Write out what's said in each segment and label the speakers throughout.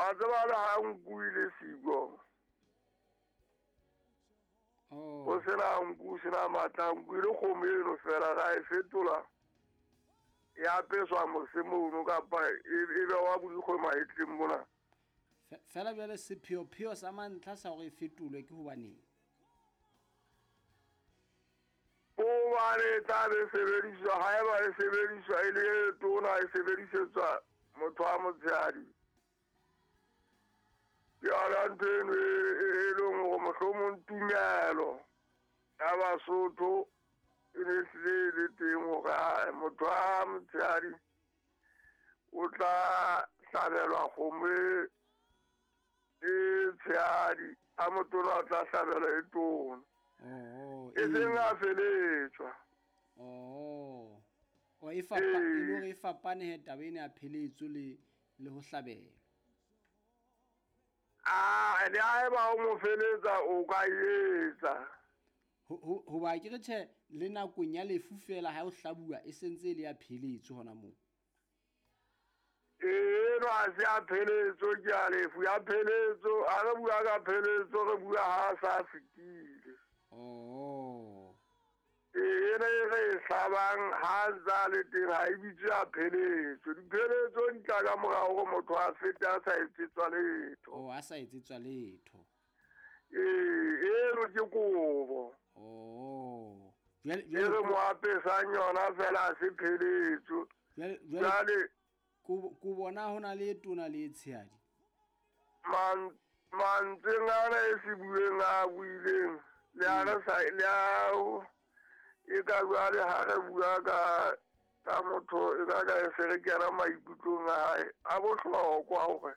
Speaker 1: Wa tseba le ha nku e le siko.
Speaker 2: Oh.
Speaker 1: O sena nku, o sena matla, nku e le kgomo eno fela ra e fetola. Ya apeswa mose mono kapa e bewa borikgwe mahetleng mona.
Speaker 2: Fela jwale sepheopheo sa mantlha sa hore e fetolwe ke hobaneng?
Speaker 1: Hobane e tla be sebediswa, haeba e sebediswa e le e tona, e sebedisetswa motho wa motshehadi. Ke yona ntho eno e leng hore mohlomong tumelo ya Basotho e ne hlile e le teng hore ae, motho wa motshehadi o tla hlabelwa kgomo e tshehadi, a motona o tla hlabelwa e tona.
Speaker 2: Oh,
Speaker 1: E seng a feletswa.
Speaker 2: Oh. O e fapa, e le hore e fapane he taba ena ya pheletso le ho hlabelwa.
Speaker 1: Ah, le haeba o mo feletsa o ka etsa.
Speaker 2: Hoba ke re tjhe, le nakong ya lefu fela ha o hlabuwa e sentse e le ya pheletso hona moo.
Speaker 1: Eno ha se ya pheletso, ke ya lefu. Ya pheletso, ha re bua ka pheletso, re bua ha sa fetile.
Speaker 2: Oh.
Speaker 1: Ena e re e hlabang ha ntse a le teng ha e bitswe ya pheletso. Dipheletso di tla ka morao hore motho a fete a sa etsetswa letho.
Speaker 2: Oh, a sa etsetswa letho.
Speaker 1: Eno ke kobo.
Speaker 2: Oh. Jwale,
Speaker 1: E
Speaker 2: jwale
Speaker 1: re mo apesang yona fela ha se pheletso.
Speaker 2: Jwale, jwale
Speaker 1: Jwale
Speaker 2: ko bona ho na le e tona le e tshehadi.
Speaker 1: Mantsweng ana e se bueng a buileng, le a re sa, le a o, e ka jwale ha re bua ka motho, e ka ka e se re kena maikutlong a hae, a bohlokwa hore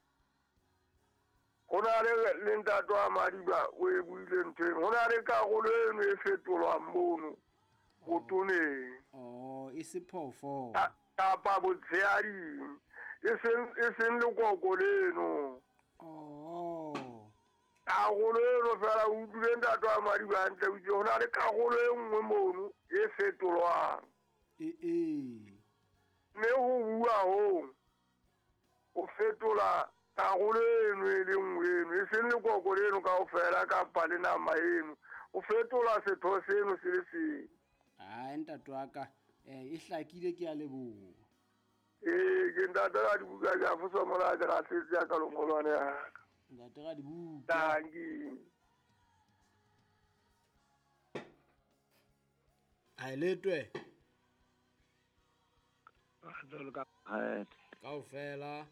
Speaker 1: ho na le ntate wa Madiba o e buile ntho eno. Ho na le karolo eno e fetolwang mono botoneng.
Speaker 2: Oh, e se phoofolo.
Speaker 1: Kapa botshehading. E seng lekoko leno.
Speaker 2: Oh.
Speaker 1: Karolo eno fela o utlwile ntate wa Madiba hantle, o itse ho na le karolo e nngwe mono e fetolwang.
Speaker 2: E.
Speaker 1: Mme ho bua hoo, o fetola karolo eno e le nngwe eno, e seng lekoko leno kaofela kapa le nama eno. O fetola setho seno se le seng.
Speaker 2: Ai, ntate wa ka, e hlakile, ke a leboha.
Speaker 1: Ke ntate Radibuka, ke a fosa mona, ke rahletse ya ka longolwane ya ka.
Speaker 2: Ntate Radibuka.
Speaker 1: Tanki.
Speaker 2: Ai, letwe. Kaofela.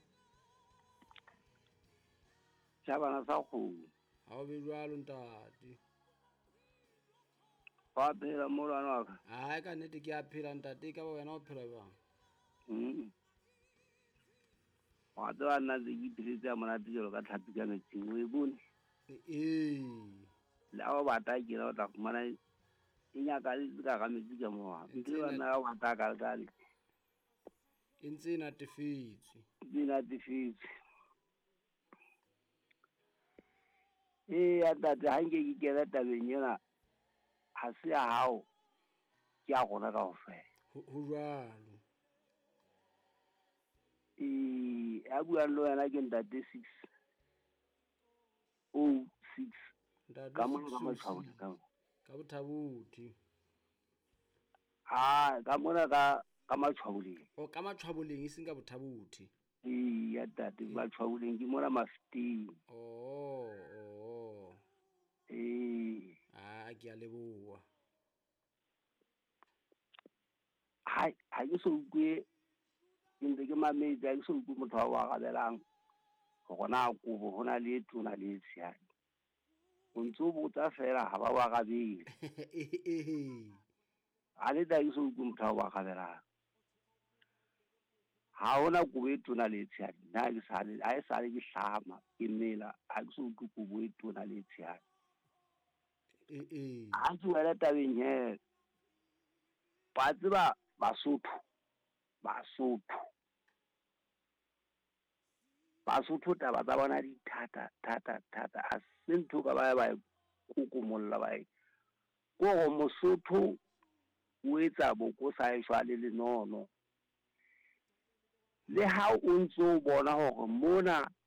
Speaker 3: Tjhabana sa kgomo.
Speaker 2: Ha o be jwalo ntate.
Speaker 3: Wa phela molwana wa ka?
Speaker 2: Hai, ka nnete ke a phela ntate, ka ba wena o phela jwang?
Speaker 3: Wa tseba nna ntse ke ipheletse ya monate jwalo ka tlhapi ka metsing, o e bone?
Speaker 2: Ee.
Speaker 3: Le ha o bata ke la o tla fumana e nyakaletse ka hara metsi ka moo.
Speaker 2: E ntse
Speaker 3: Ntse
Speaker 2: e
Speaker 3: ba nna o bata ka le.
Speaker 2: E ntse e natefetswe.
Speaker 3: E ntse e natefetswe. Eya ntate, ha nke ke kena tabeng ena, ha se ya hao, ke ya rona kaofela.
Speaker 2: Ho jwalo.
Speaker 3: Ee, ya buang le wena ke ntate six oh six.
Speaker 2: Ntate
Speaker 3: Ka mona
Speaker 2: six
Speaker 3: ka
Speaker 2: oh
Speaker 3: Matshwabodi,
Speaker 2: six.
Speaker 3: ka mona.
Speaker 2: Ka Bothabothi.
Speaker 3: Ah, ka mona ka Matshwaboleng.
Speaker 2: O ka Matshwaboleng, e seng ka Bothabothi.
Speaker 3: Ee, ya ntate, Matshwaboleng ke mona Mafeteng.
Speaker 2: Oh, oh.
Speaker 3: Ee.
Speaker 2: Ah, ke a leboha.
Speaker 3: Ha, ha ke so utlwe, ke ntse ke mametse, ha ke so utlwe motho a o arabelang hore na kobo ho na le e tona le e tshehadi. O ntso botsa fela ha ba o arabele. Ha le tla ke so utlwe motho a o arabelang. Ha hona kobo e tona le e tshehadi. Nna ha ke sale, ha e sale ke hlama, ke mela, ha ke so utlwe kobo e tona le e tshehadi. Ha ke wela tabeng he, ba tseba Basotho, Basotho. Basotho taba tsa bona di thata, thata, thata. Ha se ntho ka ba ba kokomolla ba e. Kore Mosotho o etsa boko sa e jwale lenono. Le ha o ntso bona hore mona